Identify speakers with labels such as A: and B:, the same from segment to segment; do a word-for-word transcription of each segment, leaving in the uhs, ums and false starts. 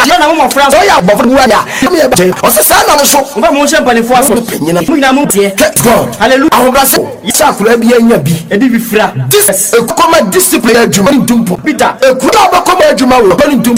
A: Yɛ na mo mmɔfra
B: Sɛ ɔyɛ abɔfra mu a, yɛ bɛ ɔsɛ saa nam so.
A: Momfa mo ho nhyɛ mpanimfoɔ ase.
B: Panyina.
A: Mo nyinaa mo teɛ.
B: God.
A: Hallelujah.
B: Ahobrɛase sɛ akwadaa bi anya bi.
A: Ɛdi fifira.
B: Dis ekɔma discipline adwuma ne ntumpo.
A: Peter.
B: Ekuro a ɔbɛkɔma adwuma wɔ ɔbɛ ne ntum.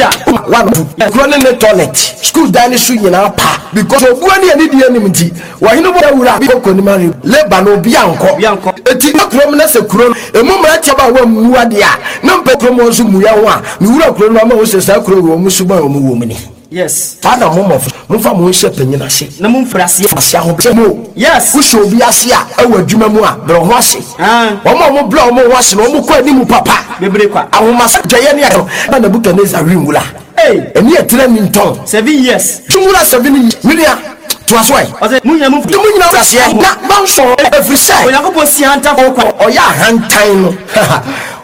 B: Wa ekuro ne ne toilet, school dan ne so nyinaa pa, because obua ne ani di anim nti wɔhene bɔ awura bi kɔ nim are labour na obi ankɔ.
A: Obi ankɔ.
B: Eti na kurom na sɛ kuro no emu mmeranteɛ ba a wɔmmu adeɛ a, na mpɛ kurom wɔn nso mmua ho a, mewura kuro no ama wo sɛ saa kuro wɔ mu suban a wɔn wɔ mu ni.
A: Yes.
B: Saa na mo mmɔfo, momfa mo ho hyɛ panyin ase.
A: Na mo mfiri aseɛ.
B: Ase ahobrɛ mu.
A: Yes.
B: Wohyɛ obi ase a, ɛwɔ adwuma mu a, brɛ ho ase.
A: Ah.
B: Wɔn a wɔn brɛ wɔn ho ase no, wɔn kɔ anim papa.
A: Bebree kwa.
B: Ahomasa dwɛyɛ ne ayɛ na Nebukadnezar wi nwura.
A: Hey.
B: Ɛni ɛtena ni ntɔn.
A: Seven years.
B: Twumwura seven years. Minia toa so ɛ.
A: Ɔsɛ mo nyinaa mo
B: Mo nyinaa firi aseɛ na mansɔn, ɛfiri sɛ
A: Onyankopɔn si ahantanfoɔ kwan.
B: Ɔyɛ ahantan no,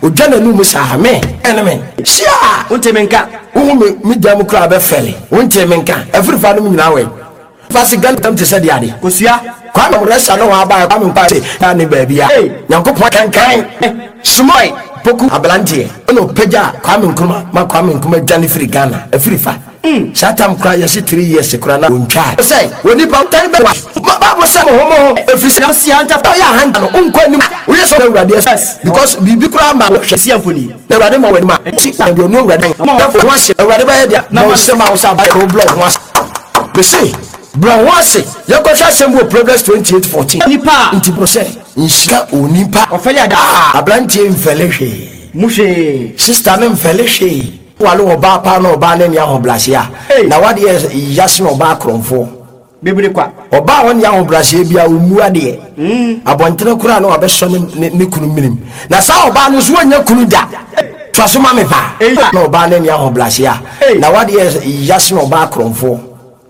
B: odwa n'anum saa me ɛne me hyia.
A: Wonte me nka.
B: Wohu me me dan mu koraa bɛfɛle. Wonte me nka. Ɛfiri fa nom nyinaa wɛ fa se Ghana tam te sɛ deɛ ade.
A: Kosua.
B: Kwame Rɛsa ne wɔn aba Kwame Nkwa se kaa ne baabi a
A: Hey.
B: Nyankopɔn kankan Sumai Poku aberanteɛ ɛna ɔpagya Kwame Nkrumah ma Kwame Nkrumah dwane firi Ghana. Ɛfiri fa saa tam koraa yɛse three years koraa na wɔntwaa sɛ onipa tan bɛ wa Bible sɛ mo ho mo ho, ɛfiri sɛ
A: Si ahantanfoɔ.
B: Ɔyɛ ahanta no, wonkɔ anim, woyɛ sɛ Awurade
A: Yes.
B: because biribi koraa ma wɔhwɛ
A: Si amfoni.
B: Na Awurade ma w'anim a ti deɛ ɔno Awurade na ho ase. Awurade bɛyɛ deɛ na ɔsɛm a wo sɛ abayɛ wo blɛ wo ho ase. Mese brɛ ho ase. Yɛnkɔhwɛ asɛm bi wɔ Proverbs twenty-eight fourteen.
A: Nipa a
B: Nti bro sɛ nhyira onipa
A: ɔfɛle ada.
B: Ah, aberanteɛ mfɛle hwee.
A: Mu hwee.
B: Sister no mfɛle hwee. Wale ɔbaa paa na ɔbaa ne ne ahobrɛaseɛ a
A: Hey.
B: na wadeɛ yase na ɔbaa korɔmfoɔ.
A: Bebree kwa.
B: Ɔbaa a ɔne ahobrɛaseɛ bi a ɔmmu adeɛ abɔntene koraa na wabɛsɔ ne, ne, ne kunu minim, na saa ɔbaa no nso wɔnyɛ kunu da. Toa so ma me paa.
A: Hey.
B: Na ɔbaa ne ne ahobrɛaseɛ a
A: Hey.
B: na wadeɛ yase na ɔbaa korɔmfoɔ.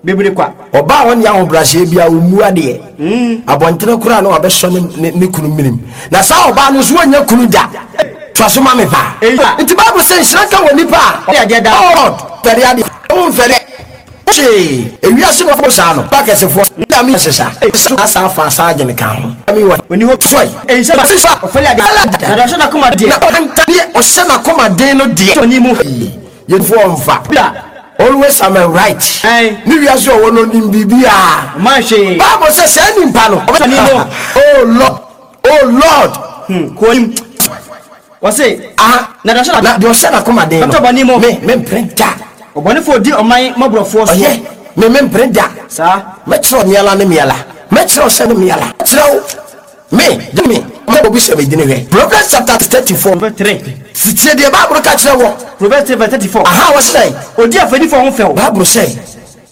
A: Bebree kwa.
B: Ɔbaa a ɔne ahobrɛaseɛ bi a ɔmmu adeɛ abɔntene koraa na wabɛsɔ ne, ne, ne kunu minim, na saa ɔbaa no nso wɔnyɛ kunu da. Toa so ma me paa.
A: Hey.
B: Nti Bible sɛ nhyira nka wɔ nipa a
A: Ɔyɛ adeɛ da.
B: Oh Lord, fɛre adeɛ womfɛre hwee. Ewiase no fo saa no ba kɛsefoɔ nyame sesa asa afa asa adwene ka ho mi wɔ
A: Oni hɔ.
B: soy
A: Eyi sɛ
B: sisa.
A: Ɔfɛle ade. Na deɛ ɔhyɛ n'akoma deɛ.
B: Na ɔhanta deɛ ɔhyɛ n'akoma den no deɛ.
A: Oni mu.
B: Yɛfoɔ mfa
A: Bla.
B: always am right.
A: Ɛn.
B: Ne wiase ɔwɔ no nim biribiaa.
A: Ɔman hwee.
B: Bible sɛ saa nipa no
A: Oni mu.
B: Oh Lord, oh Lord.
A: Hmm. Kɔ nim. Wɔse.
B: Aha.
A: Na deɛ ɔhyɛ
B: na deɛ ɔhyɛ n'akoma den no
A: Bɛtɔ bɔne mu.
B: Me mempere da.
A: Ɔbɔnefoɔ di ɔman mmɔborɔfoɔ so.
B: Ɔyɛ me mempere da.
A: Saa.
B: Mɛkyerɛw miala ne miala, mɛkyerɛw sɛ ne miala, kyerɛw me gye me mɛ obi sɛ medini. Hwɛ Proverbs chapter thirty-four.
A: Verse three.
B: Sitie deɛ Bible ka kyerɛ wɔ.
A: Proverbs three verse thirty-four.
B: Aha, wɔsɛ
A: Odi afɛdifoɔ ho fɛw.
B: Bible sɛ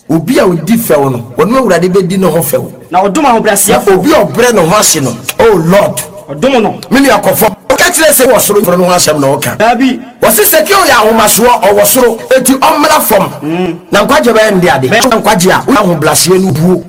B: obi a odi fɛw no, ɔno Awurade bɛdi ne ho fɛw.
A: Na ɔdom
B: Na
A: ahobrɛaseɛfoɔ.
B: obi a ɔbrɛ ne ho ase no, oh Lord.
A: Ɔdom no.
B: Me nua kɔfɔ ɔka kyerɛ sɛ wɔ soro no ho asɛm na ɔka.
A: Daabi.
B: Wɔse Sakeo yɛ ahomasoɔ, ɔwɔ soro, eti ɔmmra fam na nkwagye bɛyɛ nde ade nkwagye a woyɛ ahobraseɛ no buo.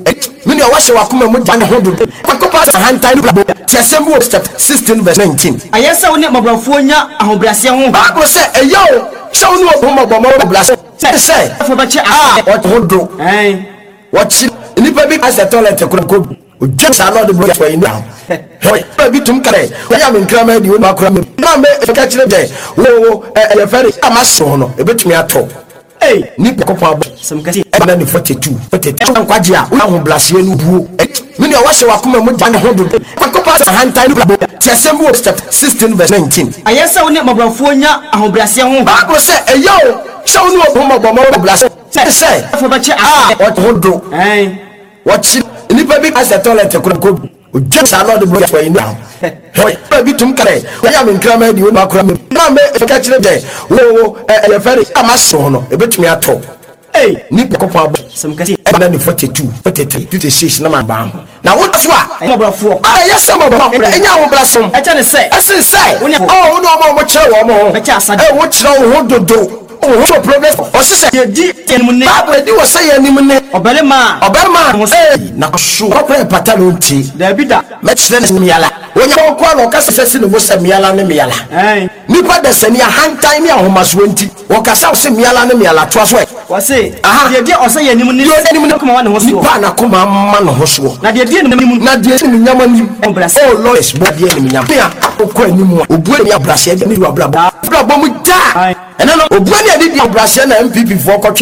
B: Me nua, wahyɛ wakoma mu gya ne ho dodo Nyankopɔn sɛ ahantan no brabɔ. Te asɛm bi wɔ chapter sixteen verse nineteen.
A: Ɛyɛ sɛ wo ne mmɔborɔfoɔ nya ahobrɛaseɛ ho.
B: Bible sɛ ɛyɛ o sɛ wo ne ɔho mmɔbɔmmɔ brase sɛ
A: Afɔ bɛkyɛ
B: a
A: ase.
B: ɔte ho do.
A: Ɛn.
B: Wɔkyi nnipa bi asɛ toilet kora kɔ ogya saa na ɔde bɔ yɛ ni hɔ bi tum kɛ wɔyɛ ame nkrama di wɔn akora mi na mɛ ɛka kyerɛ dɛ wo wo ɛ ɛyɛ fɛre a ma se ho no ebetumi atɔ
A: Ei.
B: Nipa kɔkɔ abɔ
A: Sɛm kɛseɛ.
B: Ɛna ne forty two forty two nkwagye a woyɛ ahobraseɛ no buo. Me nua, wahyɛ wakoma mu gya ne ho dodo Nyankopɔn sɛ ahantan no brabɔ. Te asɛm bi wɔ chapter sixteen verse nineteen.
A: Ɛyɛ sɛ wo ne mmɔborɔfoɔ nya ahobrɛaseɛ ho.
B: Bible sɛ ɛyɛ o sɛ wo ne ɔho mmɔbɔmmɔ brase sɛ
A: Afɔ bɛkyɛ
B: a
A: ase.
B: ɔte ho do.
A: Ɛn.
B: Wɔkyi nnipa bi asɛ toilet kora kɔ ogya saa na ɔde bɔ yɛ ni hɔ bi tum kɛ wɔyɛ ame nkrama di wɔn akora mi na mɛ ɛka kyerɛ dɛ wo wo ɛ ɛyɛ fɛre a ma se ho no ebetumi atɔ
A: Ei.
B: Nipa kɔkɔ abɔ
A: Sɛm kɛseɛ.
B: Ɛna ne forty two forty three fifty six na ma ba ho na wo so a
A: Mmɔborɔfoɔ.
B: A ɛyɛ sɛ mɔbɔ ɛnyɛ ahobrɛsom.
A: Ɛkyɛ ne sɛ.
B: Ɛsen sɛ
A: Wo ne-
B: ɔ wo ne ɔma a wɔkyerɛ wɔn ho.
A: Bɛkyɛ asade.
B: Ɛ wokyerɛ wo ho dodo, wo ho so progress ɔse sɛ
A: Deɛ di anim ne.
B: Bible adi wɔ sɛ yɛ anim ne.
A: Ɔbarima a.
B: Ɔbarima
A: Ho
B: a ee na so ɔkora pata no nti.
A: Daabi da.
B: Mɛkyerɛ ne miala onya ɔkɔ na ɔkasa sɛ si ne bo sɛ miala ne miala.
A: Ɛn.
B: Nipa dasani ahantan ne ahomasoɔ nti wɔkasa sɛ miala ne miala. Toa so ɛ.
A: Wɔse.
B: Aha.
A: Deɛ di ɔsɛ yɛ anim ne.
B: Deɛ ɔdi anim ne.
A: Akoma wa ne ho soɔ.
B: Nipa a n'akoma ama ne ho soɔ.
A: Na deɛ di anim.
B: Na deɛ animuonyam anim.
A: Ahobrɛase.
B: Oh Lord, bɔ adeɛ animuonyam nea ɔkɔ anim a obu ani abrɛaseɛ de ne du abrabɔ abrabɔ mu daa.
A: Aye.
B: Ɛnɛ no obu ani adi di abrɛaseɛ na N P P foɔ kɔtwe.